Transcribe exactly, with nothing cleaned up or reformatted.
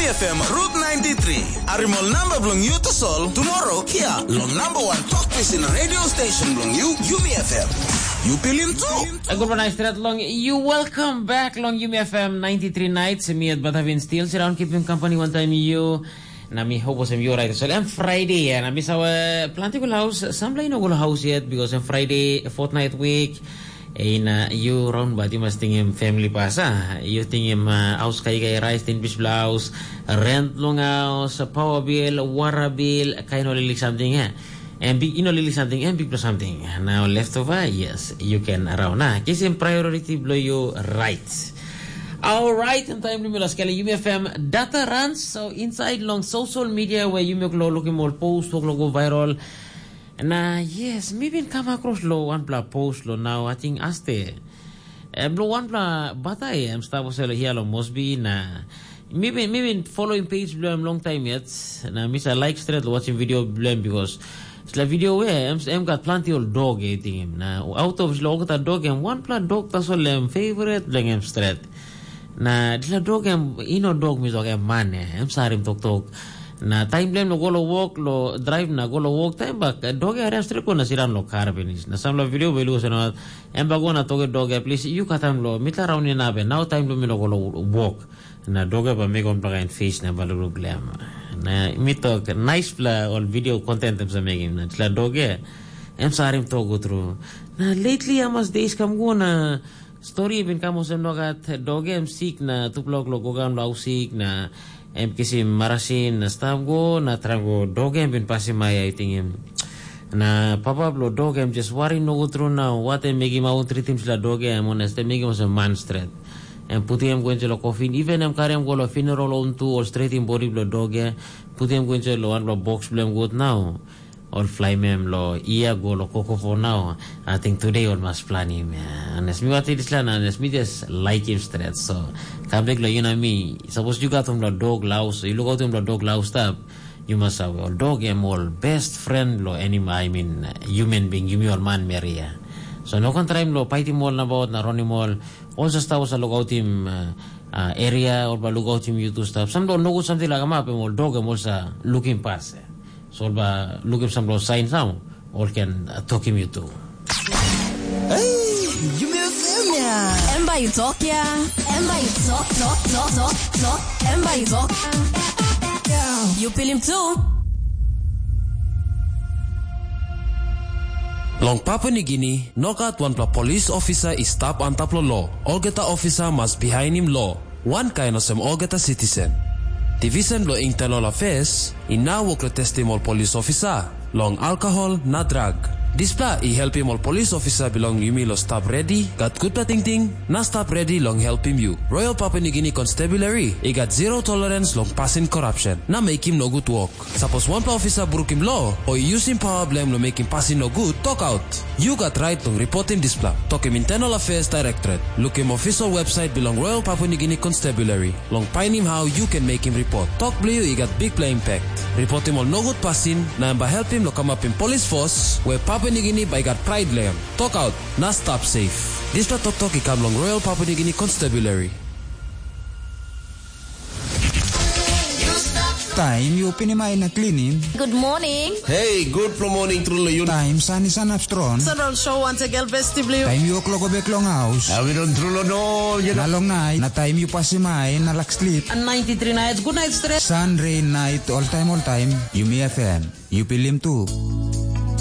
F M Route ninety-three. Arimol namba bilong yu tasol tomorrow hia long number one talk pisin radio station bilong yu, Yumi F M. Yu pilim tu. Good morning, straight long you. Welcome back long Yumi F M ninety-three nights. Me at Batavin still sit down, keeping company one time you. Na mi hope wasem you right. So I'm Friday, yeah. Na mi sawa planting will house. Some play no will house yet because I'm Friday, fortnight week. Ina yu raun bat yu mas tingim family pas a yu tingim uh, aus kaikai rais tin bis blaus, rent long aus, power bill, water bill, kain ol ilik something eh. And big ino lili something and big something. Now left over, yes, you can around na kisim priority blow you right. All right, and time limit las kali Yumi F M data runs so inside long social media where you make lo looking more post, talk lo go viral. Na yes, mi bin kam akros lo wanpela post lo nau ating aste. Em lo wanpela batai em stap olsem lo hia lo Mosbi na mi bin mi bin following page bilong em long time yet. Na mi sa like stret lo watching video bilong em because sila video we em em gat planti ol dog e tingim. Na out of sila olgeta dog em wanpela dog tasol em favorite bilong em stret. Na dispela dog em i no dog mi tok em man ya, em sarim toktok. Na taim bilong em no go long wok long drive na go long wok taim bak dog ya rem stret go na siram long kar pinis. Na sampela video bai luas na em bai go na toke dog ya plis yu katam long mitla raun inap ya nau taim bilong mi no go long wok. Na dog ya bai mekim wanpela kain fis na bai lukluk long em. Na mi tok naispela ol video kontent em sa mekim na dispela dog ya em sarim tok go tru. Na lately amas days kam go na Stori i bin kam olsem nogat, dog em sik na tupela lo gogan lo hausik na em kisim marasin na stap go na traim go dog em bin pasim ai ai tingim. Na papa bilong dog em jes wari nogut tru na wat em mekim aut tritim sila dog em ones em mekim olsem man stret. Em putim em go insait lo kofin, even em karim go lo funeral home tu ol stretim bodi bilong dog em, putim em go insait lo wanpela boks bilong em gut nau. Ol flaim em lo ia go lo koko for nau. Ating tude ol mas planim ya. Anes mi wati dispela na anes mi jes laikim stret. So kam bek lo yu na mi. Sapos yu gat wanpela dog laus, yu lukautim lo dog laus stap. Yu mas save ol dog em ol best friend lo animal, I mean human being, yumi ol man meri ya. So no kan traim lo paitim ol nabaut na ronim ol. Ol sa stap ol sa lukautim uh, uh, area, ol ba lukautim yu tu stap. Sam lo nogut samting la kamap em ol dog em ol sa lukim pas. So ol ba lukim sampela sain nau ol ken uh, tokim yu tu. Hey, yumi FM ya. Em bai tok ya. Em bai tok tok tok tok tok. Em bai tok. You pilim tu. Long Papua Nigini, nogat wanpela polis ofisa i stap antap long lo. Olgeta ofisa mas bihainim lo. Wankain olsem olgeta sitisen. Divisen bilong Internal Affairs i nau wok long testim ol polis ofisa long alkohol na drak. Dispela i helpim ol polis ofisa bilong yumi long stap redi, gat gutpela tingting, na stap redi long helpim yu. Royal Papua Nigini Constabulary i gat zero tolerance long pasin korapsen na mekim nogut wok. Sapos wanpela ofisa brukim lo o i yusim pawa bilong em long mekim pasin nogut, tokaut. Yu gat rait long ripotim dispela. Tokim Internal Affairs Directorate. Lukim official website bilong Royal Papua Nigini Constabulary long painim hau yu ken mekim ripot. Tok bilong yu i gat bikpela impact. Ripotim ol nogut pasin na em bai helpim long kamapim polis fos we Papua Nigini bai i gat prait long em. Tokaut na stap safe. Dispela toktok i kam long Royal Papua Nigini Constabulary. Taim yu pinim ai na klinim. Good morning. Hey, good morning tru long yu. Taim san i sanap strong. Central show once again best blue. Taim yu klok bek long haus. Awi don tru long no, you Na know. Long nait, na taim yu pasim ai na lak slip. And ninety-three nights, good night stress. San, rain, night, all time, all time. Yumi F M. Yu pilim tu.